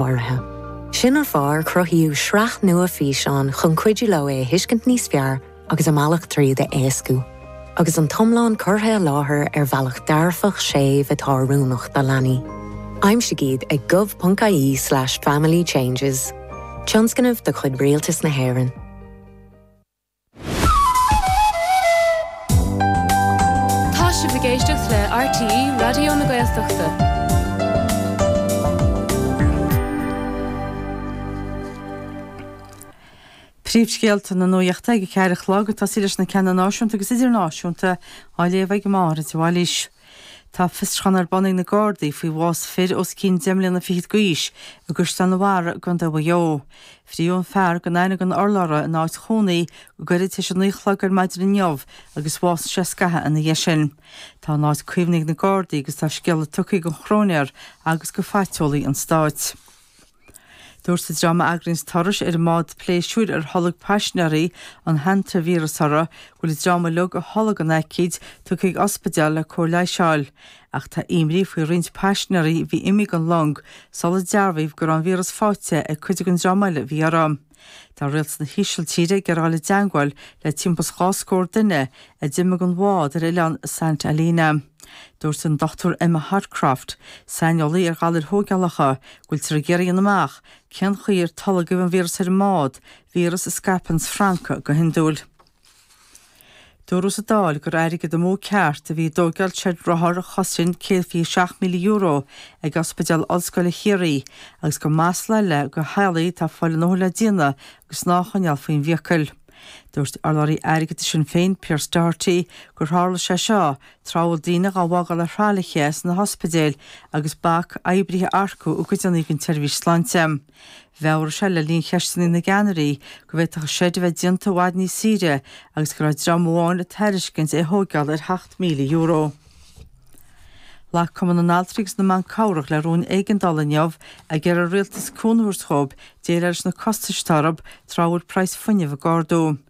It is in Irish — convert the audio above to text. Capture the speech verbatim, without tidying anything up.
áirithe. Sin an fáth ar cruthaíodh sraith nua físeán chun cuidiú leo é a thuiscint níos fearr agus a mbealach tríd a éascú. Agus an t-iomlán curtha i láthair ar bhealach dearfach séimh atá oiriúnach do leanaí. Aimsigh iad ag gov.ie slash family changes. Tionscnamh de chuid Rialtas na hÉireann. Tá sibh ag éisteacht le RTÉ Raidió na Gaeltachta. Príomhscéalta na nuachta ag a ceathair a chlog ag tosaí leis na ceanna náisiúnta agus idirnáisiúnta á léamh ag Máire de Bhailís. Tá fiosrúchán ar bun ag na Gardaí faoi bhás fir os cionn deich mbliana fichead d'aois i gCaisleán an Bharraigh i gContae Mhaigh Eo. Frítheadh an fear gan aithne don urlabhra ina áit chónaí go gairid tar éis a naoi a chlog ar maidin inniu agus bhásaigh sé scaitheamh ina dhiaidh sin. Tá an áit caomhnaithe ag na Gardaí agus tá scéala tugtha don chróinéir agus do phaiteolaí an stáit. Dúirt an dream a eagraíonns turais ar an mbád pléisiúir ar tholg paisinéirí an hantavíreas orthu go bhfuil an dream uilig a tholg an aicíd tugtha chuig ospidéal le cóir leighis a fháil. Ach tá imní faoi roinnt paisinéirí a bhí imithe den long sular dearbhaíodh go raibh an víreas faighte ag cuid den dream eile a bhí orthu. Tá rialtas na hÍsiltíre ag iarraidh dul i dteangmháil le timpeall is dhá scór duine a d'imigh den bhád ar oileán Saint Helena. Dúirt an Dochtúir Emma Hodcroft, saineolaí ar ghalair thógálacha, go bhfuiltear ag iarraidh a dhéanamh amach cén chaoi ar tolgadh an víreas ar an mbád, víreas a scaipeann francaigh go hiondúil. Dúradh sa Dáil gur airgead amú ceart a bhí i dtógáil seid rothar a chosain céad fiche seacht míle euro ag Ospidéal Ollscoile Chiarraí agus gur masla eile do theaghlaigh atá ag fáil a ndóthain le déanamh agus snáth a choinneáil faoin bhfiacail. Dúirt urlabhraí airgeadais Shinn Féin, Pearse Doherty, gur tharla sé seo tráth a bhfuil daoine dhá bhfágáil ar thralaithe sna hospidéil agus bac oibrithe a earcú i gcuideanna den tseirbhís sláinte. Mheabhraigh sé le linn cheisteanna na gceannairí go bhféadfadh an seid a bheith déanta i bhfad níos saoire agus go raibh dream amháin ag tairiscint é a thóigeáil ar sheacht míle euro. Ghlac Cumann na nAltraí agus na mBan Cabhrach le rún éigeandála inniu ag iarraidh ar an rialtas cúnamh a thabhairt dhóibh déileáil leis na costais atá orthu tráth a bhfuil praghas fuinnimh ag ardú.